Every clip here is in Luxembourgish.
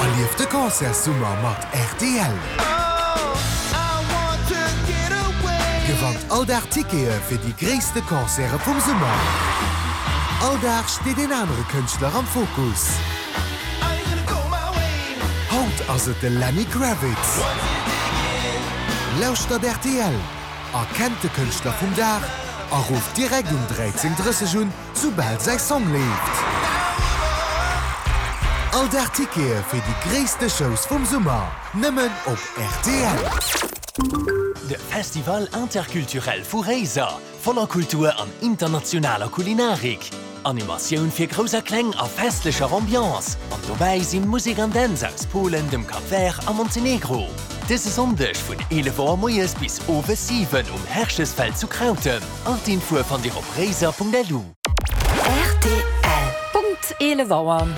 Erlieft de Concertssummer mat rtl! Gewannt all Dag Tickete fir déi gréisste Concerte vum Summer! All Dag steet een anere Kënschtler am Fokus. Haut ass et de Lenny Kravitz. Lauschtert rtl, erkennt de Kënschtler vum Dag a rufft direkt um 13:30 un, soubal säi Song leeft. All Dag Tickete fir déi gréisste Shows vum Summer, nëmmen op rtl. De Festival Interculturel vu Réiser, voller Kultur an internationaler Kulinarik. Animatioun fir Grouss a Kleng a festlecher Ambiance. An dobäi sinn Musek an Dänz aus Polen, dem Cap Vert a Montenegro. Dëse Sonndeg vun 11 Auer moies bis owes 7 um Herchesfeld zu Krautem. All d'Infoe fannt Dir op réiser.lu. Rtl. Punkt 11 Auer.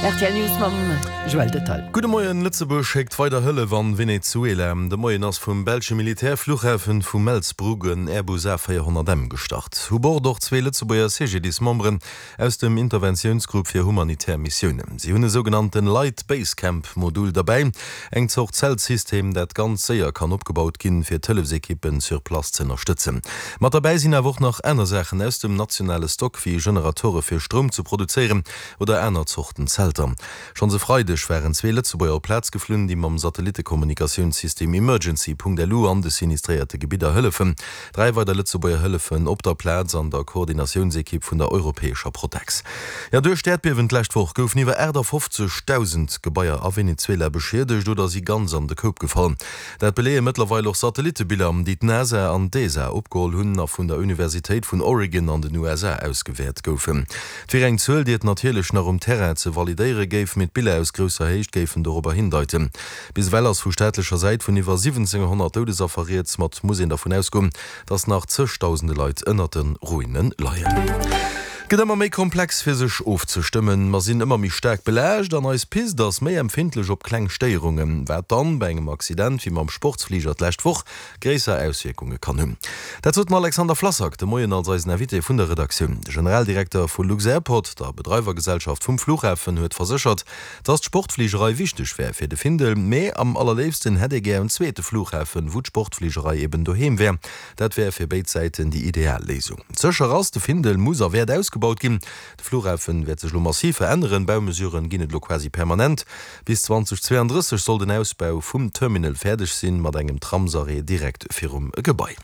Rtl News mam Joël Detail. Gudde Moien, Lëtzebuerg schéckt weider Hëllef an Venezuela. De Moien ass vum belsche Militärfluchhafen vu Melsbroek en Airbus A 400 M gestart. U Bord och zwee Lëtzebuerger CGDIS-Memberen aus dem Interventiounsgrupp fir humanitär Missiounen. Si hunn e sougenannten Light Base Camp Modul derbäi, eng Zort Zeltsystem, dat ganz séier kann opgebaut ginn, fir d'Hëllefsekippen sur place z'ënnerstëtzen. Mat derbäi sinn awer och nach aner Saachen aus dem nationale Stock, wéi Generatore fir Stroum ze produzéieren oder aner Zorten Zelter. Schonns e Freideg waren zwee Lëtzebuerger op d'Plaz geflunn, déi mam Satellittekommunikatiounssystem Emergency. Lu an de sinistréierte Gebidder hëllefen. Dräi weider Lëtzebuerger hëllefen op der Plaz an der Koordinatiounsekipp vun der europäescher Protex. Jo, duerch d'Äerdbiewen d'lescht Woch goufen iwwer 58.000 Gebaier a Venezuela beschiedegt oder si ganz an de Koup gefall. Dat beleeë mëttlerweil och Satellittebiller, déi d'NASA an d'ESA opgeholl hunn a vun der Universitéit vun Oregon an den USA ausgewäert goufen. Et wier eng Zuel, déi et natierlech nach um Terrain ze validéiere géif, mee d'Biller aus grousser Héicht géifen dorobber hindeiten. Bis ewell ass vu staatlecher Säit vun iwwer 1.700 Doudesaffer rieds, ma et muss een dervun ausgoen, datt nach zëgdausende Leit ënnert de Ruine leien. Et gëtt ëmmer méi komplex fir sech ofzestëmmen, mer sinn ëmmer méi staark belaascht an eis Pist ass méi empfindlech op kleng Stéierungen, wat dann bei engem Accident wéi mam Sportsfliger d'lescht Woch gréisser Auswierkunge kann hunn. Dat sot den Alexander Flassak de Moien als eisen Invité vun der Redaktioun. De Generaldirekter vu Lux-Airport, der Bedreiwergesellschaft vum Flughafen, huet verséchert, Dass d'Sportfligerei wichteg wär fir de Findel, mee am allerléifsten hätt ee gär en zweete Flughafen, wou d'Sportfligerei eben doheem wär. Dat wär fir béid Säiten déi ideal Léisung. Sécher ass, de Findel muss a wäert ausgebaut ginn. De Flughafen wäert sech elo massiv veränneren, Baumesuren ginn et elo quasi permanent. Bis 2032 soll den Ausbau vum Terminal fäerdeg sinn, mat engem Tramsarrêt direkt virum Gebai.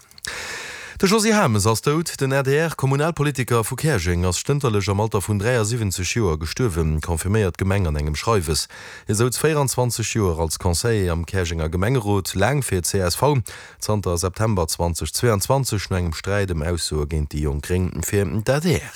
De Josy Hames ass dout. Den ADR-Kommunalpolitiker vu Käerjeng ass stënterlech am Alter vun 73 Joer gestuerwen, confirméiert d'Gemeng an engem Schreiwes. Hie souz 24 Joer als Conseiller am Käerjenger Gemengerot, laang fir csv, zanter September 2022 no engem Sträit ëm Aussoe géint déi Jonk Gréng fir d'ADR.